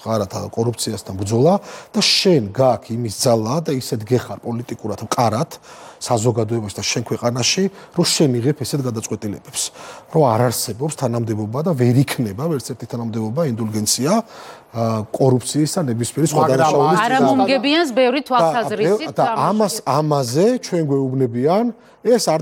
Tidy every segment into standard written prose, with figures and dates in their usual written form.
მყარად კორუფციასთან ბრძოლა და შენ გაქვს იმის ძალა და ისეთ გეხარ პოლიტიკურად მყარად საზოგადოებაში და შენ ქვეყანაში, რომ შენ იღებ ესეთ გადაწყვეტილებებს, რომ არ არსებობს თანამდებობა და ვერ იქნება ვერც ერთი თანამდებობა ინდულგენცია კორუფციის და ნებისმიერი სხვა დანაშაულის არა მომგებიანს ბევრი თვალსაზრისით და ამაზე ჩვენ გვეუბნებიან ეს არ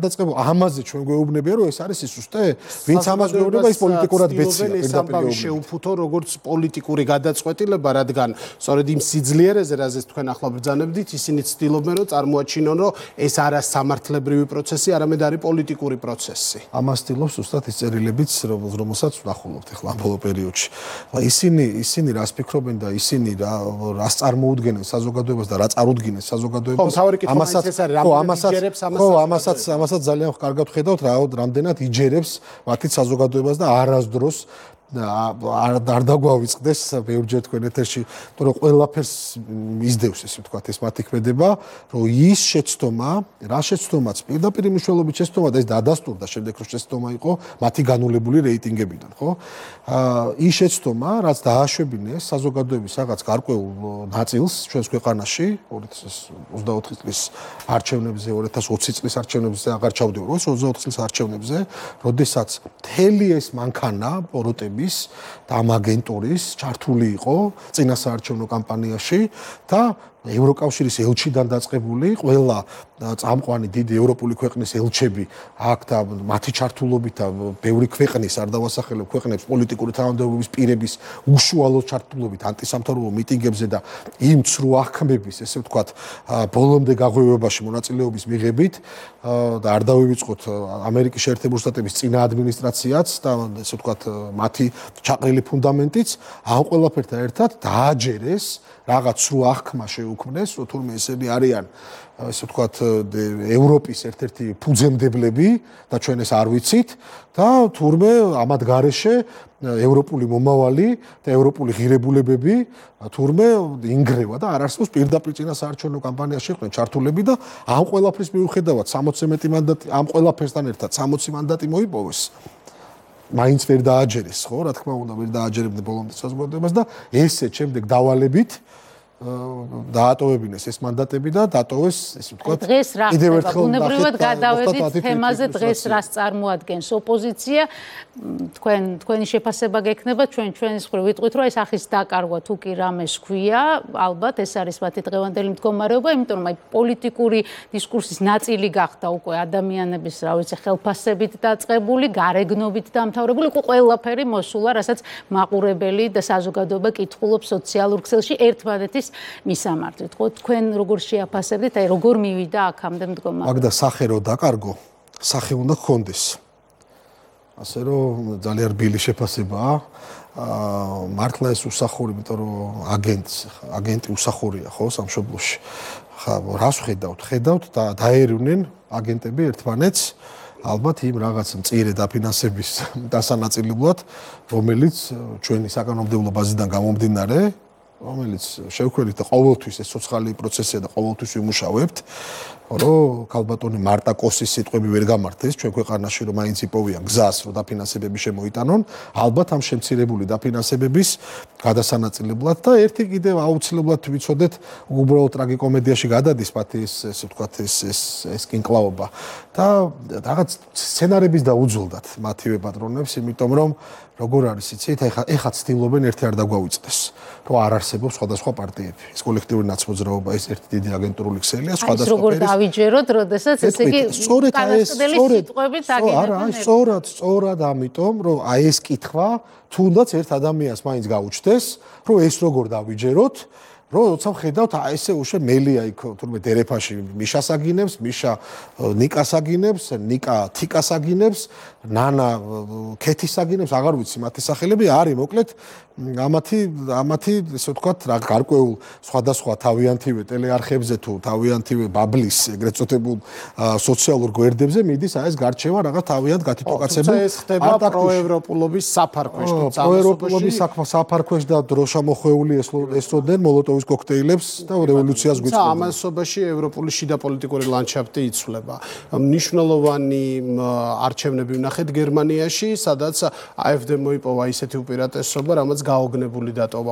დაწყებულა ამაზე ჩვენ გვეუბნებიან რომ ეს არის სისუსტე ვინც ამას გვეუბნება ის პოლიტიკურად ბეცია პირდაპირ შეუფუთო როგორც პოლიტიკური გადაწყვეტილება რადგან სწორედ იმ სიძლიერეზე რაზეც თქვენ ახლა ბრძანებდით ისინი ცდილობენ რომ წარმოაჩინონ რომ ეს არა სამართლებრივი პროცესი არამედ არის პოლიტიკური პროცესი ამას ცდილობს ზუსტად ის წერილებიც რომელსაც ვნახულობთ ახლა ამ ბოლო პერიოდში ისინი რას ფიქრობენ და ისინი რას წარმოუდგენენ საზოგადოებას და რა წარუდგინეს საზოგადოებას ამასაც ძალიან კარგად ხედავთ რამდენად იჯერებს მათი საზოგადოებას და არასდროს არ დაგვავიწყდეს ბევრჯერ თქვენ ეთერში რომ ყველაფერს მისდევს ესე ვთქვათ ეს მათი ქმედება რომ ის შეცდომა რა შეცდომაც პირდაპირ მნიშვნელობით შეცდომა და ეს დადასტურდა შემდეგ რომ შეცდომა იყო მათი განულებული რეიტინგებიდან ხო ის შეცდომა რაც დააშვებინეს საზოგადოების რაღაც გარკვეულ ნაწილს ჩვენს ქვეყანაში 2024 წლის არჩევნებზე 2020 წლის არჩევნებზე აღარ ჩავდივარ 2024 წლის არჩევნებზე როდესაც მთელი ეს მანქანა პოროტები და ამ აგენტურის ჩართული იყო წინასაარჩევნო კამპანიაში და ევროკავშირის ელჩიდან დაწყებული ყველა წამყვანი დიდი ევროპული ქვეყნის ელჩები აქ და მათი ჩართულობით და ბევრი ქვეყნის არ დავასახელებ ქვეყნებს პოლიტიკური თანამდებობის პირების უშუალო ჩართულობით ანტისამთავრობო მიტინგებზე და იმ ცრუ აღქმების ესე ვთქვათ ბოლომდე გაღვივებაში მონაწილეობის მიღებით და არ დავივიწყოთ ამერიკის შეერთებული შტატების წინა ადმინისტრაციაც და ესე ვთქვათ მათი ჩაყრილი ფუნდამენტიც ამ ყველაფერთან ერთად დააჯერეს რაღაც სრულ აღქმა შეუქმნეს, რომ თურმე ესენი არიან, ესე ვთქვათ, ევროპის ერთ-ერთი ფუძემდებლები და ჩვენ ეს არ ვიცით და თურმე ამათ გარეშე ევროპული მომავალი და ევროპული ღირებულებები თურმე ინგრევა და არ არსებობს პირდაპირ წინასაარჩევნო კამპანიაში იყვნენ ჩართულები და ამ ყველაფრის მიუხედავად 60 მეტი მანდატი ამ ყველაფერსთან ერთად 60 მანდატი მოიპოვეს. მაინც ვერ დააჯერეს, ხო, რა თქმა უნდა, ვერ დააჯერებდნენ ბოლომდე საზოგადოებას და ესე შემდეგ დავალებით დაატოვებინეს ეს მანდატები და დატოვეს, ესე ვთქვათ, კიდევ ერთხელ ბუნებრივად გადავედით თემაზე დღეს რას წარმოადგენს ოპოზიცია, თქვენი შეფასება გექნება, ჩვენს მხრივ ვიტყვით, რომ ეს ახის დაკარგვა თუ კი რამეს ქვია, ალბათ ეს არის მათი დღევანდელი მდგომარეობა, იმიტომ რომ აი პოლიტიკური დისკურსის ნაწილი გახდა უკვე ადამიანების, რა ვიცი, ხელფასებით დაწყებული, გარეგნობით დამთავრებული, ყველაფერი მოსულა, რასაც მაყურებელი და საზოგადოება კითხულობს სოციალურ ქსელში ერთმანეთის მისამართით, ხო, თქვენ როგორ შეაფასებდით, აი როგორ მივიდა აქამდე მდგომარეობა? მაგ და სახე რო დაკარგო, სახე უნდა გქონდეს. ასე რომ ძალიან რბილი შეფასებაა. მართლა ეს უსახური, იმიტომ რომ აგენტი უსახურია, ხო, სამშობლოში. ხა, რას ხედავთ? ხედავთ და დაერივნენ აგენტები ერთმანეთს ალბათ იმ რაღაც მწირე დაფინანსების დასანაწილებლად, რომელიც ჩვენი საკანონმდებლო ბაზიდან გამომდინარე რომელიც შევქმნით და ყოველთვის ეს სოციალური პროცესია და ყოველთვის ვიმუშავებთ, რომ ქალბატონი მარტა კოსის სიტყვები ვერ გამართეს ჩვენ ქვეყანაში, რომ მაინც იპოვიან გზას, რომ დაფინანსებები შემოიტანონ, ალბათ ამ შემცირებული დაფინანსებების გადასანაწილებლად და ერთი კიდევ აუცილებლად ვიცოდეთ, უბრალოდ ტრაგიკომედიაში გადადის მათი ესე ვთქვათ ეს კინკლაობა და რაღაც სცენარების დაუძულდათ მათივე პატრონებს, იმიტომ რომ როგორ არის იცით, ეხლა ცდილობენ ერთი არ დაგვავიწყდეს, რომ არ არსებობს სხვადასხვა პარტიები. ეს კოლექტიური ნაცმოძრაობა, ეს ერთი დიდი აგენტურული ქსელია, სხვადასხვა როგორ დავიჯეროთ, როდესაც ესე იგი უკანასკნელი სიტყვებით აგებენ. სწორად ამიტომ, რომ აი ეს კითხვა თუნდაც ერთ ადამიანს მაინც გაუჩნდეს, რომ ეს როგორ დავიჯეროთ, როცა ხედავთ ესე უშე მელია იქ თურმე დერეფაში მიშას აგინებს, მიშა ნიკას აგინებს, ნიკა თიკას აგინებს, ნანა ქეთის აგინებს, აღარ ვიცი მათი სახელები არის, მოკლედ ამათი ესე ვთქვათ რა გარკვეულ სხვადასხვა თავიანთივე ტელეარხებზე თუ თავიანთივე ბაბლის ეგრეთ წოდებულ სოციალურ გვერდებზე მიდის აი ეს გარჩევა რაღაც თავიანთ გათვითოკაცებულ ეს ხდება პროევროპულობის საფარქვეშ თუ პროევროპულობის საფარქვეშ და დროშამოხვეული ესწოდნენ მოლოტოვის კოქტეილებს და რევოლუციას გვიწყობდნენ. ამასობაში ევროპული შიდა პოლიტიკური ლანდშაფტი იცვლება. მნიშვნელოვანი არჩევნები ვნახეთ გერმანიაში, სადაც AfD მოიპოვა ისეთი უპირატესობა, რამაც გაოგნებული დატოვა